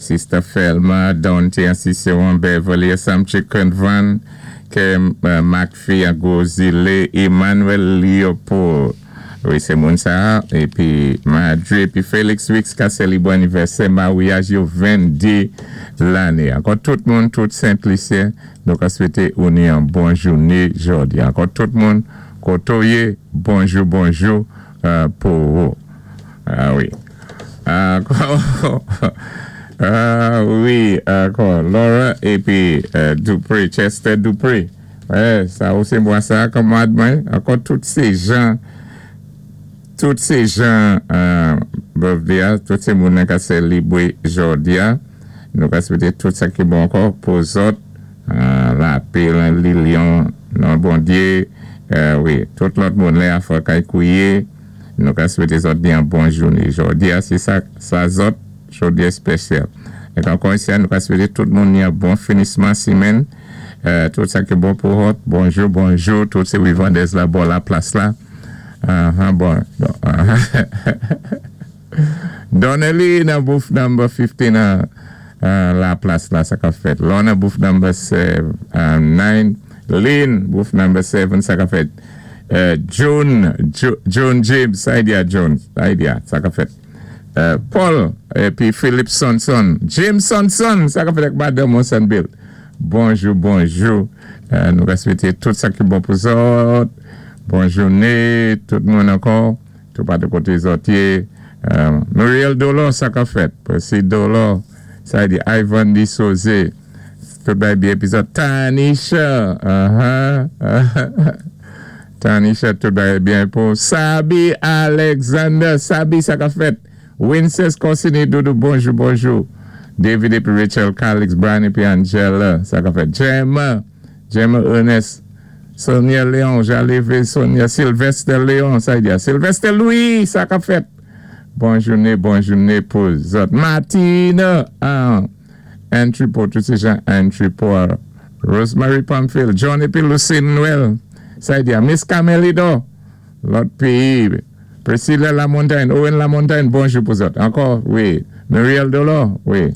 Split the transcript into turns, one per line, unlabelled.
Sister Felma, Dante an Ciceron, Beverly Samchi Van, ke McPhee an Gozile, Emmanuel Leopold. Wi, sé moun sa. Épi Madre, épi Félix Wix ka sélibwé anivèsè maryaj yo 22 lanné. Ankò tout moun, tout Sent Lisyen, nou ka swété ou ni yon bon jouné jòdi. Ankò tout moun, koto yé, bonjou, bonjou pou ou. Ah wi. Ankò, ah wi, ankò Laura épi Dupré, Chester Dupré. Wè, sa ou sé mwa sa, kanmwad mwen. Ankò tout sé jan birthday a, tout sé moun ka sélibwé jòdi a. Nou ka swété tout sa ki bon ankò pou zòt, lapè lan Lilion, non Bondyé, wi, tout lòt moun lè a fò kay kouwé, nou ka swété zòt ni yon bon jouné. Jòdi a, sé sa, sa zòt, jòdi èspésyal. É ankò isi, nou ka swété tout moun ni yon bon finisman simenn, tout sa ki bon pou zòt. Bonjou, bonjou, tout sé Wivandez la, bò la plas la. Bon. Donnelly nan booth number 15 la plas la, sa ka fèt. Lorna, booth number 7, 9. Lynn, booth number 7, sa ka fèt. John, John James, sa idea John, sa idea, sa ka fèt. Paul, épi Philip Sonson, James Sonson, sa ka fèt ak Madame Monsanville. Bonjou, bonjou. Nou ka swété tout sa ki bon pou zòt. Bon jouné, tout moun ankò. Tout patou koté zòt yé. Muriel Dolor, sa ka fèt. Percy Dolor, sa di Ivan Di Soze. Tout bay byen épi zòt. Tanisha, Tanisha, tout bay byen pou Sabi Alexander. Sabi, sa ka fèt. Winces Corsini Doudou, bonjou, bonjou. David épi Rachel Calix, Brian épi Angela, sa ka fèt. Gemma, Gemma Ernest, Sonia Léon, Jaleve Sonia, Sylvester Léon, sa di Sylvester Louis, sa ka fèt. Bon jouné, bon jouné pou zòt. Martina, ah, Entry pour tout sé jan entry pour Rosemary Pamphile, John épi Lucine Noël, sa di Miss Camelido, lòt péyi, Priscilla Lamontagne, Owen Lamontagne, bonjou pou zòt. Ankò, wi. Muriel Dolor, wi.